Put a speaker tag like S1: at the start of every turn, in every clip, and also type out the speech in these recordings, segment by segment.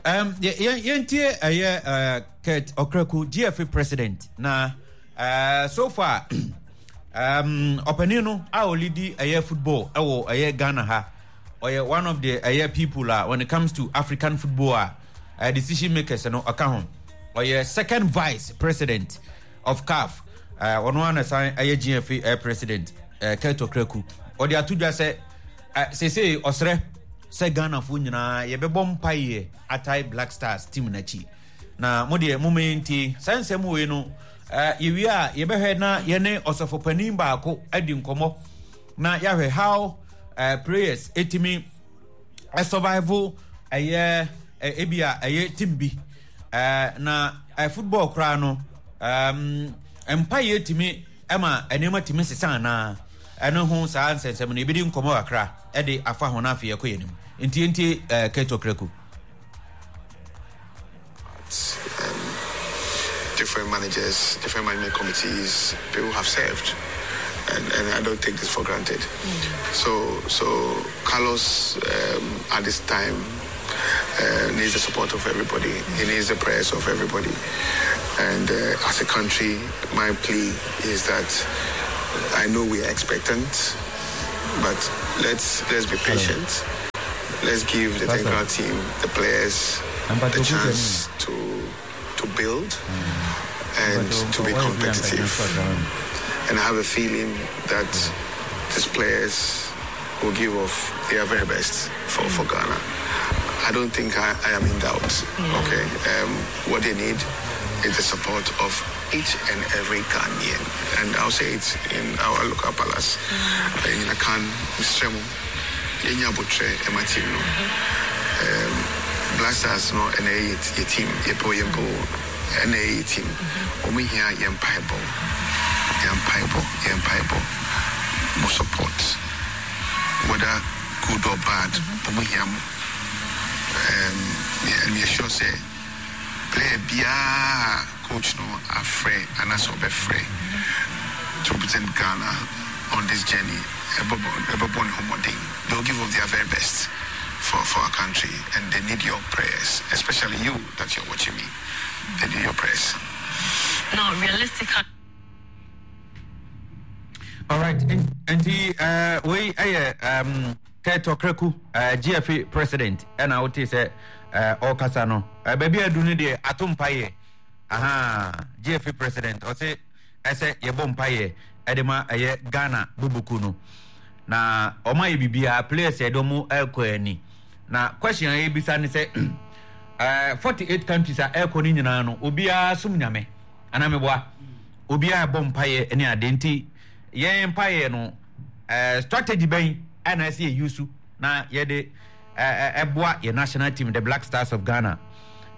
S1: Um, yɛntie ɛyɛ uh, Kurt Okraku, GFA president na so far ɔpanin no a ɔlidi ɛyɛ football ɛwɔ ɛyɛ Ghana ha ɔyɛ one of the ɛyɛ people a when it comes to African football a decision makers no ɔka ho ɔyɛ second vice president of CAF ɔno ara na san ɛyɛ GFA ɛyɛ president Kurt Okraku ɔde ato dwa sɛ seesei ɔsrɛ sɛ Ghanafoɔ nyinaa yɛbɛbɔ mpaeɛ atae Black Stars team no akyi na mo deɛ mo ntie saa nsɛm wei no yɛwie a yɛbɛhwɛ na yɛne ɔsɔfo panin baako adi nkɔmmɔ na yɛahwɛ how uh, prayers ɛtumi survival ɛyɛ ebi a ɛyɛ team bi na football koraa no um, mpaeɛ tumi ɛma nneɛma tumi sesa anaa ɛno ho saa nsɛnsɛm no yɛbɛdi nkɔmmɔ kakra ɛde afa ho no afei yɛkɔ yɛn anim nti nti Keto Kraku.
S2: Um, different managers, different management committees, people have served. And, and I don't take this for granted. Mm. So, so Carlos, um, at this time, uh, needs the support of everybody. He needs the prayers of everybody. And uh, as a country, my plea is that I know we are expectant, but let's let's be patient. Let's give the technical team, the players, the chance to to build and to be competitive. And I have a feeling that these players will give off their very best for, for Ghana. I don't think I, I am in doubt. Okay. Um, what they need is the support of each and every Ghanaian. And I'll say it in our local palace, mm. in Akan, Mr. Yɛnya abotrɛ ma team no. Um, Black Stars no ɛna ɛyɛ yɛ team, yɛpɛ o yɛmpɛ o, ɛna ɛyɛ yɛ team. Wɔn hia yɛn mpaebɔ, yɛn mpaebɔ, yɛn mpaebɔ, mo support, whether good or bad, wɔn hia mo. Um, and we are sure sɛ player biara coach no afrɛ anaasɛ ɔbɛfrɛ to represent Ghana on this journey ɛbɛbɔ ne ho mmɔden. They will give of their very best for, for our country and they need your prayers, especially you that you're watching me. They need your prayers.
S3: No, realistically.
S1: All right, nti uh, wei ɛyɛ um, Kurt Okraku, uh, GFA president ɛna wote sɛ ɔrekasa uh, no uh, baabi adu no deɛ ato mpaeɛ aha GFA president ɔse ɛsɛ yɛbɔ mpaeɛ ɛde ma ɛyɛ Ghana bubuku no na wɔn ayɛ biribiara players yɛde wɔn ɛrekɔ ani na question a yɛbisa ne sɛ ɛɛ 48 countries a ɛrekɔ no nyinaa no obiara som nyame anaa meboa obiara ɛbɔ mpaeɛ ne ade nti yɛn mpaeɛ no ɛɛ strategy bɛn ɛna ɛsɛ yɛ use na yɛde ɛɛ ɛboa yɛ national team the Black Stars of Ghana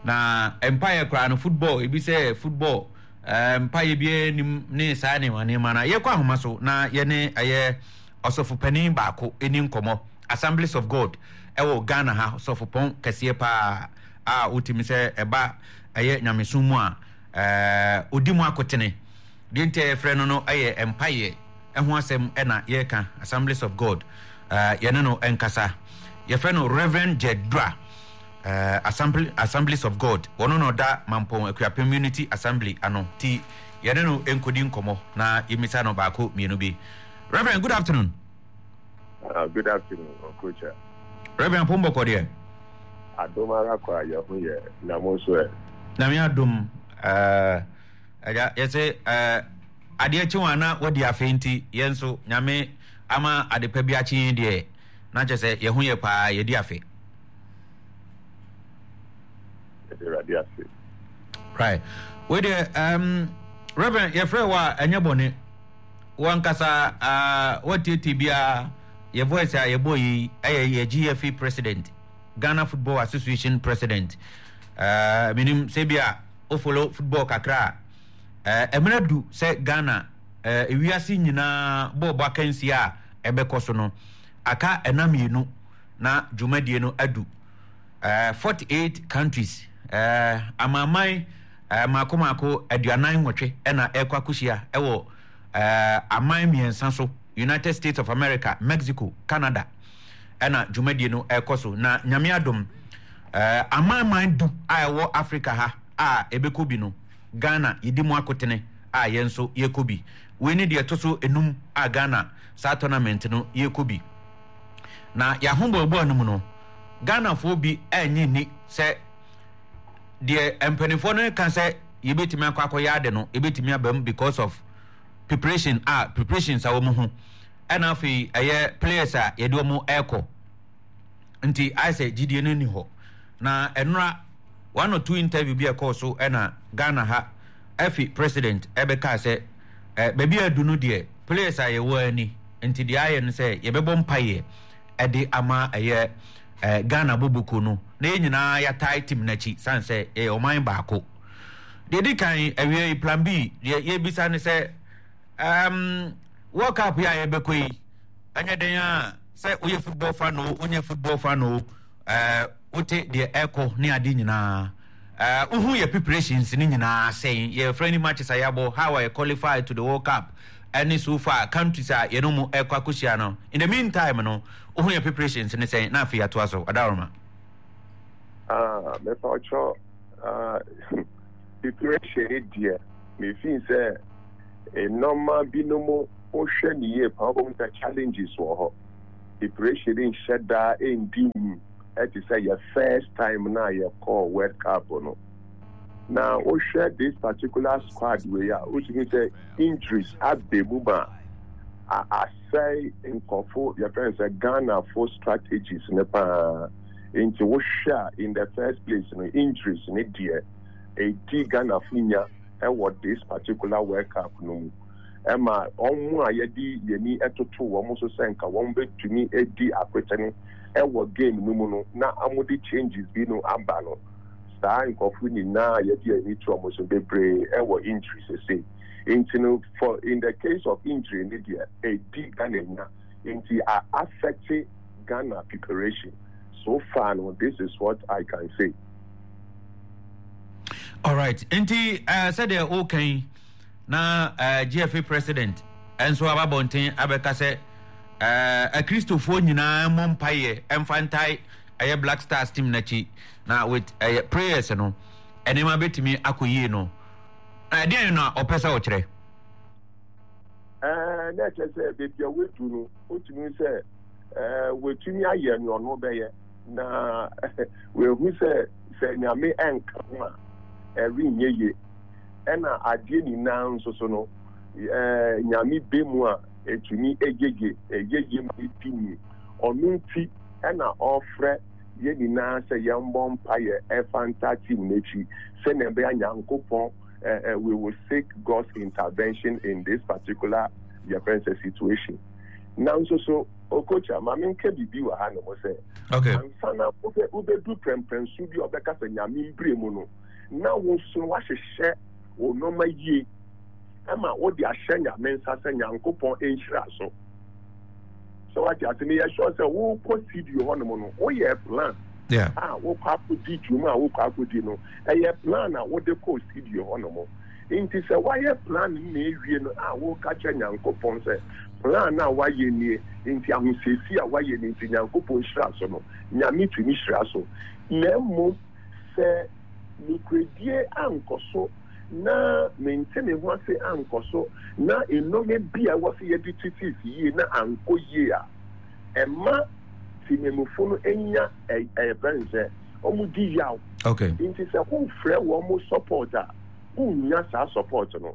S1: na mpaeɛ koraa no football ebi sɛ football ɛɛ mpaeɛ biara nim ne saa nneɛma nneɛma na yɛkɔ ahoma so na yɛne ɛyɛ ɔsɔfo panin baako ɛni nkɔmɔ Assemblies of God ɛwɔ Ghana ha ɔsɔfo pɔn kɛseɛ paa a wotumi sɛ ɛba ɛyɛ nyamesom mu a ɛɛ odi mu akotene deɛ nti a yɛfrɛ no no ɛyɛ mpaeɛ ɛho asɛm ɛna yɛreka Assemblies of God ɛɛ yɛne no ɛnkasa yɛfrɛ no Reverend Jedra ɛɛ Assembly Assemblies of God wɔn na ɔda Mampɔn Akuapem Unity Assembly ano ti yɛne no nkodi nkɔmɔ na yɛmmisa no baako mmienu bi Reverend, good afternoon.
S4: Good afternoon, Okocha.
S1: Reverend Pomboko deɛ.
S4: Adom ara kwa yɛ ho yɛ na mo nso ɛ.
S1: Nyame adom ɛgya yɛsɛ adeɛ kye wɔn ana wadi afe nti yɛn nso Nyame ama ade pa bi akye yɛn deɛ na kyɛ sɛ yɛ ho yɛ paa yɛdi afe.
S4: Yɛde Awurade ase.
S1: Right. Wei deɛ Reverend yɛfrɛ wɔ a ɛnyɛ bɔne. Wankasa ah watietie biara yɛ voice a yɛbɔ yi ɛyɛ yɛ GFA president Ghana Football Association president uh, menim sɛ bi a o follow football kakra a uh, ɛmena du sɛ Ghana uh, ewiase nyinaa bɔɔlbɔ akansie a ɛbɛkɔ so no aka ɛna mmienu na dwumadie no adu uh, 48 countries uh, amanaman uh, mako mako 48 ɛna ɛkɔ akɔhyia ɛwɔ uh, aman mmiɛnsa so United States of America, Mexico, Canada ɛna dwumadie no ɛkɔ so na nyame adom Amanman du a ɛwɔ Africa ha a ɛbɛkɔ bi no, Ghana yɛdi mu akotene a yɛn nso yɛkɔ bi. Wei ne deɛ ɛto so enum a Ghana saa tournament no yɛkɔ bi. Na yɛahoboaboa no mu no, Ghanafoɔ bi annye nni sɛ deɛ mpanimfoɔ no ka sɛ yɛbɛtumi akɔ akɔyɛ ade no, ɛbɛtumi aba mu because of preparation a preparations a wɔn ho ɛna afei ɛyɛ players a yɛde wɔn ɛrekɔ nti ayɛ sɛ gyidie no nni hɔ na ɛnora one or two interview bi a ɛkɔɔ so ɛna Ghana ha ɛfi president ɛbɛkaa sɛ ɛ baabi a adu no deɛ players a yɛwɔ ani nti deɛ ayɛ no sɛ yɛbɛbɔ mpaeɛ ɛde ama ɛyɛ ɛ Ghana boboko no na yɛn nyinaa yɛatae team n'akyi san sɛ ɛyɛ ɔman baako. Deɛ ɛdi kan awie yi plan B deɛ yɛbisa ne sɛ um, World Cup yi a yɛbɛkɔ yi ɛnyɛ den a sɛ woyɛ football fan o wonyɛ football fan o uh, wote deɛ ɛkɔ ne ade nyinaa uh, wohu yɛ preparations ne nyinaa sɛn yɛ friendly matches a yɛabɔ how a yɛ qualify to the World Cup ɛne so far countries a yɛne mu ɛkɔ akɔhyia no in the meantime no wohu yɛ preparations ne sɛn na afei yɛatoa so ɔdaworoma.
S4: Ah, mɛfa ɔkyerɛ Ah, preparation ne deɛ, mefii sɛ nneɛma binom wohwɛ ne yie paa wobɛhu sɛ challenges wɔ hɔ. Preparation ne nhyɛ daa ɛndi mu ɛte sɛ yɛ first time na yɛkɔɔ World Cup no. Na wohwɛ this particular squad wei a, wotumi sɛ injuries abɛ mu ma asɛe nkɔfo yɛfrɛ no sɛ Ghanafo strategies ne paa. Nti wohwɛ a in the first place no injuries ne deɛ ɛdi Ghanafo nya ɛwɔ this particular World Cup no mu ɛma wɔn a yɛde yɛni ɛtoto wɔn so sɛ nka wɔn bɛtumi adi akwetene ɛwɔ game no mu no na wɔde changes bi no aba no saa nkurɔfo nyinaa a yɛde yɛn ani to wɔn so bebree ɛwɔ injury sese nti no for in the case of injury ne deɛ ɛdi Ghana nya nti a affect Ghana preparation so far no this is what I can say.
S1: Alright, nti uh, sɛdeɛ woka yi na uh, eh, GFA president nso aba abɔnten abɛka sɛ uh, akristofoɔ nyinaa mmɔ mpaeɛ ɛmfa ntae ɛyɛ Black Stars team n'akyi na with ɛyɛ prayers no nneɛma bɛtumi akɔ yie no ɛdeɛn na ɔpɛ sɛ ɔkyerɛ?
S4: Ɛɛ, na ɛkyerɛ sɛ baabi a wadu no, wotumi sɛ ɛɛ watumi ayɛ nea ɔno bɛyɛ, na wahu sɛ sɛ Nyame ɛnka ho a ɛrenyɛ yie. Ɛna adeɛ nyinaa nso so no, ɛɛ Nyame bɛ mu a ɛtumi ɛyɛ yie, ɛyɛ yie ma ɛdi mu. Ɔno nti ɛna ɔfrɛ yɛn nyinaa sɛ yɛmbɔ mpaeɛ ɛfa ntaa team no akyi sɛnea ɛbɛyɛ a Nyankopɔn uh, uh, we will seek God's intervention in this particular yɛfrɛ sɛ situation. Nanso so okocha ma menka biribi wɔ ha nom sɛ
S1: okay.
S4: ansa na wobɛdu prɛmprɛnso bi a ɔbɛka sɛ nyame mbire mu no na wo nso woahyehyɛ wo nneɛma yie ɛma wode ahyɛ nyame nsa sɛ nyankopɔn nhyira so sɛ wate ase meyɛ sure sɛ wokɔ studio hɔ nom no woyɛ plan
S1: yeah.
S4: a wokɔ akɔdi dwuma a wokɔ akɔdi no ɛyɛ plan a wode kɔ studio hɔ nom nti sɛ woayɛ plan no na ewie no a woka kyerɛ nyankopɔn sɛ plan a woayɛ nie nti ahosiesie a woayɛ no nti nyankopɔn hyira so no nyame tumi hyira so na mmom sɛ nokorɛdie ankɔ so na mente me ho ase ankɔ so, na nnome bi a ɛwɔ sɛ yɛde tete si yie na ankɔ yie a, ɛma temamufo no nya ɛyɛ no sɛ wɔn di yaw.
S1: Okay.
S4: Nti sɛ wofrɛ wɔn support a, wonnya saa support no.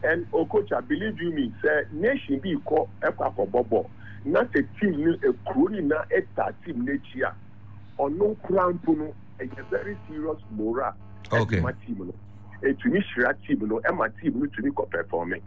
S4: And Okocha, believe you me, sɛ nation bi kɔ ɛkɔ akɔbɔ bɔ na sɛ team no ekuro nyinaa ɛta team n'akyi a, ɔno koraa mpo no ɛyɛ very serious morale.
S1: Okay.
S4: ɛde ma team no. Ɛtumi hyira team no, ɛma team no tumi kɔ pɛfɔme.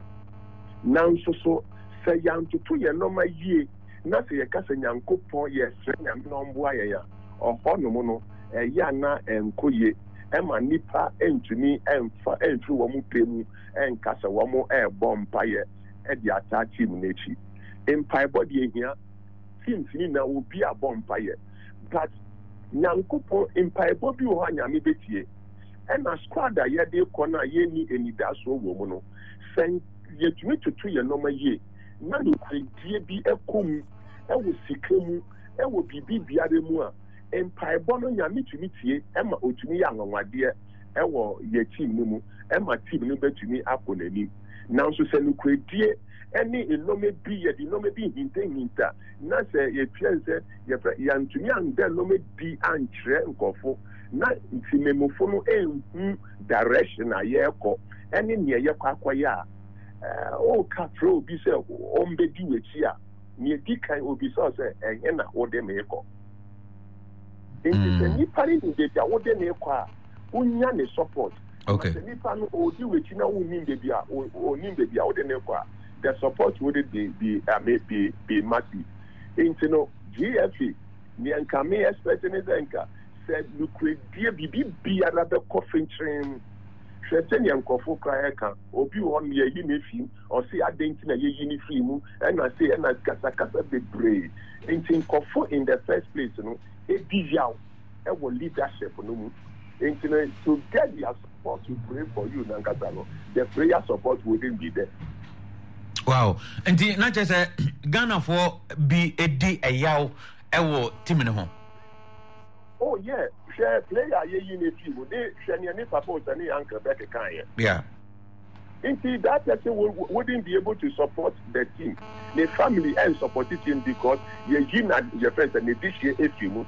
S4: Nanso so sɛ yɛantoto yɛn nneɛma yie na sɛ yɛka sɛ Nyankopɔn yɛsrɛ Nyame na ɔmboa yɛn a, ɔhɔ nom no ɛyɛ a na ɛnkɔ yie. Ɛma nnipa ntumi mfa mfiri wɔn pɛ mu nka sɛ wɔn ɛrebɔ mpaeɛ de ataa team no akyi. Mpaebɔ deɛ ɛhia, teams no nyinaa obi abɔ mpaeɛ but Nyankopɔn, mpaebɔ bi wɔ hɔ a Nyame bɛtie. Ɛna squad a yɛde kɔ no a yɛnni anidasoɔ wɔ mu no, sɛ yɛtumi toto yɛn nneɛma yie na nokorɛdie bi kɔ mu wɔ sika mu, wɔ biribi biara mu a, Mpaebɔ no Nyame tumi tie ma otumi yɛ anwanwadeɛ wɔ yɛ team no mu ma team no bɛtumi akɔ n'anim. Nanso sɛ nokorɛdie ne nnoɔma bi yɛde nnoɔma bi hintahinta na sɛ yɛtua sɛ yɛfrɛ yɛantumi anda nnoɔma bi ankyerɛ nkurɔfo na ntimamufo no ɛnhu direction a yɛrekɔ ɛne neɛ yɛkɔ akɔyɛ a, woka frɛ obi sɛ ɔmbɛdi w'akyi a, nea edi kan obisa wo sɛ, Ɛhe na wode me rekɔ? Nti sɛ nipa no nim baabi a wode no rekɔ a, wonya ne support.
S1: Okay.
S4: Sɛ nipa no ɔdi w'akyi na wonnim baabi a ɔnim baabi a wode no rekɔ a, the support would be I mean, be massive. Nti no GFA nea nka me expect ne sɛ nka sɛ nokorɛdie biribi biara bɛkɔ fenkyerɛn. Hwɛ sɛnea nkurɔfo koraa ɛka obi wɔ hɔ no yɛyi no afi mu. Ɔse adɛn nti na yɛyi no firi mu ɛna sei ɛna kasakasa bebree nti nkɔfo in the first place no ɛdi yaw ɛwɔ leadership no mu nti no to get their support to pray for you nankasa no the prayer support wouldn't be there.
S1: Wow nti na kyerɛ sɛ Ghanafoɔ bi ɛdi ɛyaw ɛwɔ team no ho.
S4: Oh yeah, hwɛ player a yɛyi no firi mu ne hwɛ nea ne papa Osane Uncle bɛkekaeɛ.
S1: Yeah.
S4: Nti that person wouldn't be able to support the team, ne family ɛn support team because yɛyi na yɛfrɛ sɛ ne dehyeɛ ɛfiri mu.